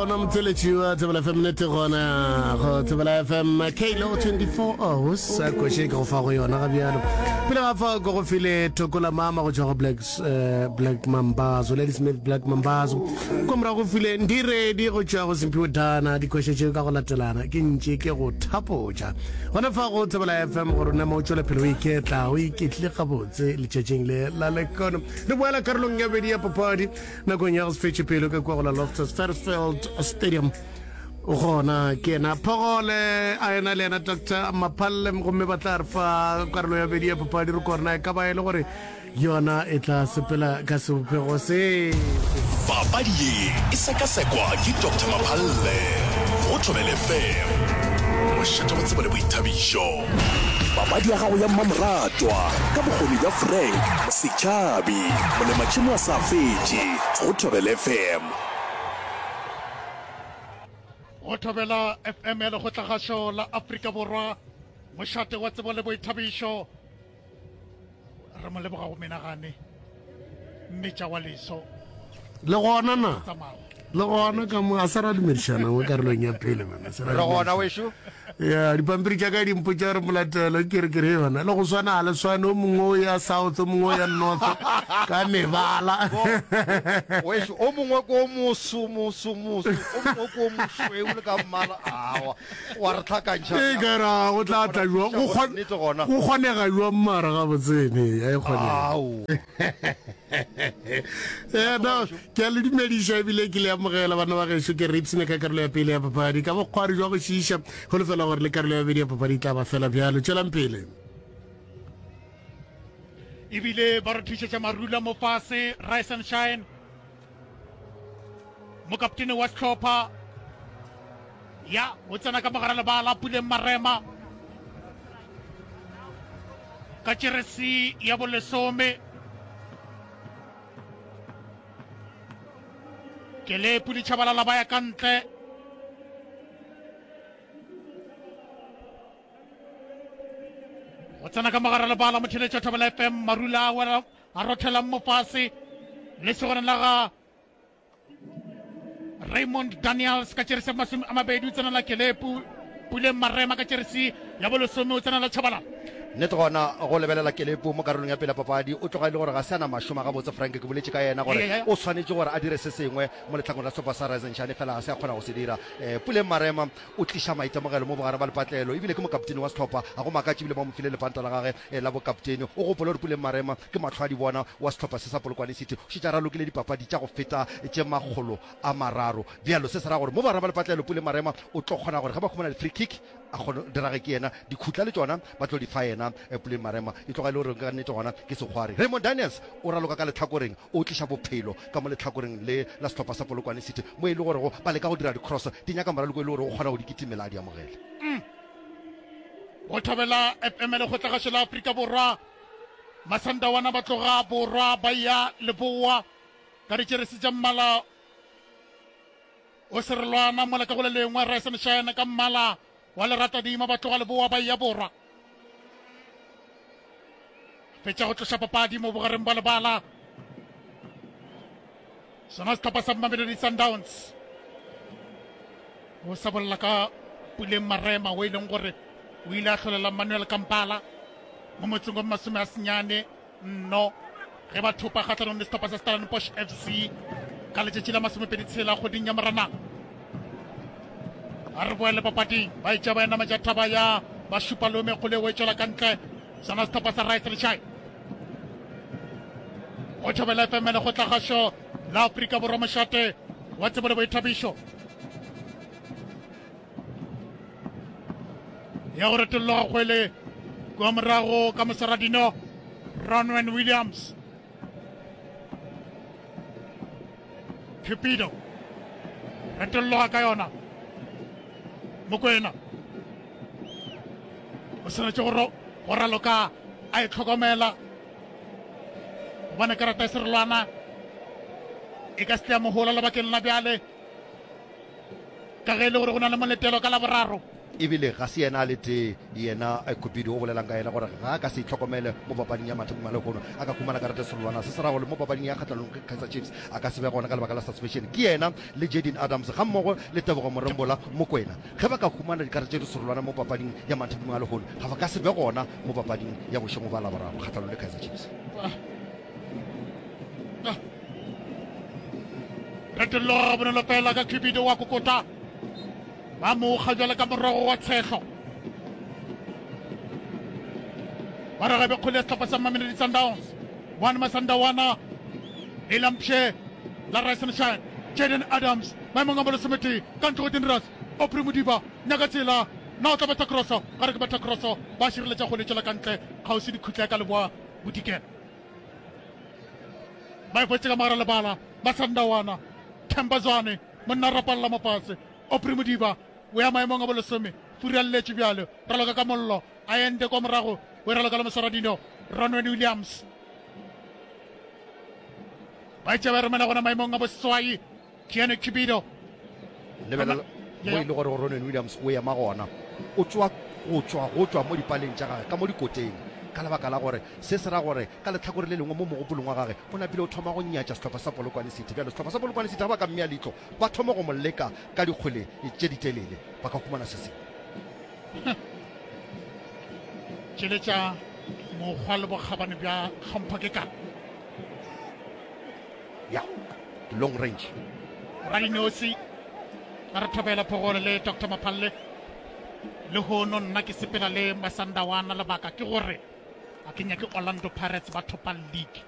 Gona motseletši wa Thobela FM nete gona go Thobela FM Kalo 24 hours sa koše ke go fa go yona ga bjalo. Pele ga fa go go file Thokola Mama go tšwa go Black uh, Black Mambazo Lady Smith Black Mambazo. Kwa morago go file Ndiredi go tšwa go Simphiwe Dana dikoše tšeo ka go latelana ke ntše ke go thapotša. Gona fa go Thobela FM gore o nama o tšwele pele o iketla o iketlile gabotse letšatšing le la lekono. Re boela karolong ya bedi ya papadi Nakong ya go se fetše pelo ka kua go la Loftus Versfeld Stadium gona ke yena Phogole a ena le yena Dr Maphalle gomme ba tla re fa karolo ya bedi ya papadi re korena e ka ba e le gore yona e tla sepela ka sebopego se. Papadi ye e sekasekwa ke Doctor Maphalle go Thobela FM, mošate wa tsebo le boithabišo. Papadi ya gago ya mmamoratwa ka bokgoni bja Frank Setšhabi, molematšhemo a sa fetše, go Thobela FM. Go Thobela FM ya Lekgotlagašo la Afrika Borwa, mošate wa tsebo le boithabišo. Re mo leboga go menagane mmetša wa leso. Le gona na? Le gona ka mo a sa ra dumedišana mo karolong ya pele mena. Re gona wešo. Ya dipampiri tša ka di mpotša gore molatelo ke re ke re yona le go swana ga le swane o mongwe o ya south o mongwe o ya north ka mebala. Wešo o mongwe ko moso moso moso o mongwe ko mošweu le ka mmala awa. Wa re hlakantšha. E ka ra go tla tla jwang? Go kgon, Nnete gona. go kgonega jwang mara gabotsene? Ya e kgonega. Ao. Eh, no, ke a le dumediša ebile ke le amogela bana ba gešo ke re ipshine ka karolo ya pele ya papadi ka bokgwari jwa go šiiša holofela gore le karolo ya bobedi ya papadi e tla ba fela bjalo tšwelang pele Ebile ba re thušetša marula mo fase Rise and Shine. Mokaptene wa sehlopha ya o tsena ka mogara lebala Puleng Marema ka jeresi ya bolesome. Kelepu le Tshabalala ba ya ka ntle. Go tsena ka mogara lebala motheletša Thobela FM Marula a a rothelang mo fase lesogana la ga Raymond Daniels ka jeresi ya 20 o tsena la Kelepu Puleng Marema ka jeresi ya bolesome o tsena la Tshabalala. Nnete gona go lebelela Kelepu mo karolong ya pele ya papadi o tloga e le gore ga se a na mašoma gabotse. Frank ke boletše ka yena gore o swanetše gore a dire se sengwe mo lehlakong la sehlopha sa Rise and Shine fela ga se a kgona go se dira. Puleng Marema o tliša maitemogelo mo bogare ba lepatlelo ebile ke mokaptene wa sehlopha. Ga go makatše ebile ba mo file lepanta la gage la bokaptene. O gopole gore Puleng Marema ke mahlo a di bona wa sehlopha se sa Polokwane City. O šetše a ralokile dipapadi tša go feta tše 300. Bjalo se se ra gore mo bogare ba lepatlelo Puleng Marema o tlo kgona gore ge ba humana di-free kick a kgone di rage ke yena. Dikhutla le tšona ba tlo di fa yena Puleng Marema. E tloga e le gore ka nnete gona ke sekgwari. Raymond Daniels o raloka ka lehlakoreng, o tliša bophelo ka mo lehlakoreng le la sehlopha sa Polokwane City mo e le gorego ba leka go dira di-cross di nyaka moraloko e le gore o kgona go di kitimela a di amogele. Go Thobela FM Lekgotlagašo la Afrika Borwa, Masandawana ba tloga borwa ba ya leboa ka ditšeresi tša mmala o serolwana mola ka go le lengwe Rise and Shine ka mmala wa leratadima ba tloga leboa ba ya borwa. Fetša go tloša papadi mo bogareng ba lebala sona sehlopha sa Mamelodi Sundowns o sa bolela ka Puleng Marema o e leng gore o ile a hlolela Manuel Kampala mo motseng wa 90 nno ge ba thopa kgahlanong le sehlopha sa Stellenbosch FC ka letšatši la 26 kgweding ya Moranang. A re boele papading ba etša ba enametša thaba ya ba šupa lome kgole o e tšwela ka ntle sona sehlopha sa Rice Lechai. Go Thobela FM lekgotlagašo la Afrika Borwa mošate wa tsebo le boithabišo. Ya go retolloga kgwele kua morago ka moswaradino Ronwen Williams. Cupido retolloga ka yona Mokwena o swanetše go go raloka a e tlhokomela gobane karata ya serolwana e ka se tle ya mohola lebakeng la bjale ka ge e le gore go na le moletelo ka laboraro. Ebile ga se yena a le tee, yena Cupido o bolelang ka yena gore ga a ka se itlhokomele mo papading ya mathomong a lehono a ka humana karata serolwana. Se se ra gore mo papading ya kgahlanong le Kaizer Chiefs a ka se be gona ka lebaka la suspension. Ke yena le Jayden Adams gammogo le Tebogo Morembola Mokoena ge ba ka humana dikarata tše diserolwana mo papading ya mathomong a lehono ga ba ka se be gona mo papading ya bošego ba Laboraro kgahlanong le Kaizer Chiefs. Retolloga gabonolo fela ka Cupido wa kokota. Ba mo kga bjale ka morogo wa tshehlo. Ba re gabe kgole ya sehlopha sa Mamelodi Sundowns. One Masandawana le Lampshe la Rise and Shine. Jaden Adams maemong a bolesometee ka ntlo go Dinras. Aubrey Modiba nyaka tsela na o tla betha kroso ga re ke betha kroso ba šireletša kgole tšwela ka ntle kgauswi dikhutla ka leboa bodikela. Ba e hwetše ka mogare lebala Masandawana. Themba Zwane monna rapalla mofase. Aubrey Modiba o ya maemong a bolesome, furalletše bjalo, raloka ka mollo, a ende kwa morago, o e raloka le moswaradino Ronwen Williams. Ba etša ba romela gona maemong a boseswai Keanu Cupido. Lebelela mo e le gore Ronwen Williams o ema gona, o tšwa go tšwa go tšwa mo dipaleng tša gage ka mo dikoteng, ka lebaka la gore se se ra gore ka lehlakore le lengwe mo mogopolong wa gage o napile o thoma go nyatša sehlopha sa Polokwane City. Bjalo sehlopha sa Polokwane City ga ba ka mmea leihlo ba thoma go mo leka ka dikgwele tše ditelele, ba ka humana se sengwe. Tšweletša mokgwa le bokgabane bja tlhompho ke ka. Ya, long range. Radinosi a re thobela Phogole le Doctor Maphalle. Lehono nna ke sepela le Masandawana lebaka ke gore a ke nyake Orlando Pirates ba thopa league.